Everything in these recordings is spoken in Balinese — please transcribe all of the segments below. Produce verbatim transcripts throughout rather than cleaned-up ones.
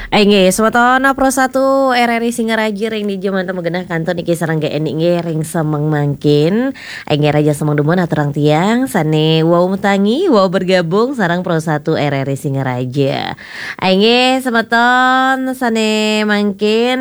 Inggih, semeton Pro satu R R I Singaraja ring dija manten magenah kantun niki sareng G N I nggih ring semeng mangkin. Inggih, raris semeng dumun aturang tiang sane wau matangi, wau bergabung sareng Pro satu R R I Singaraja. Inggih, semeton sane mangkin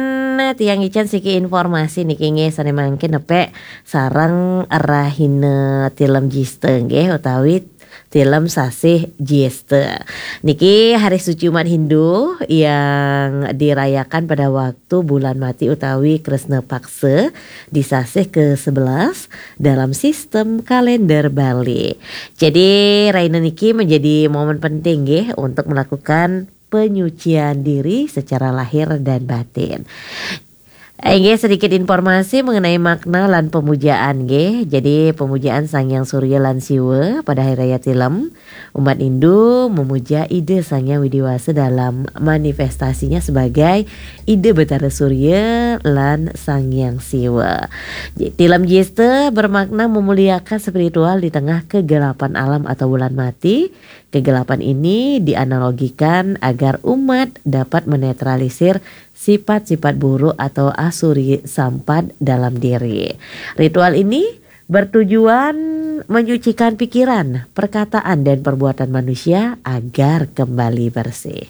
tiang ngicen siki informasi niki nggih sane mangkin nepek sareng rahina tilem Jista nggih utawi tilem sasih Jista. Niki hari suci umat Hindu yang dirayakan pada waktu bulan mati utawi Kresna Paksa di sasih ke sebelas dalam sistem kalender Bali. Jadi, rahina niki menjadi momen penting nggih untuk melakukan penyucian diri secara lahir dan batin. Inggih, sedikit informasi mengenai makna lan pemujaan nggih. Jadi, pemujaan Sang Hyang Surya lan Siwa pada Hari Raya Tilem, umat Hindu memuja Ida Sang Hyang Widi Wasa dalam manifestasinya sebagai Ida Betara Surya lan Sang Hyang Siwa. J-, Tilem Jista bermakna memuliakan spiritual di tengah kegelapan alam atau bulan mati. Kegelapan ini dianalogikan agar umat dapat menetralisir sifat-sifat buruk atau asuri sampat dalam diri. Ritual ini bertujuan menyucikan pikiran, perkataan, dan perbuatan manusia agar kembali bersih.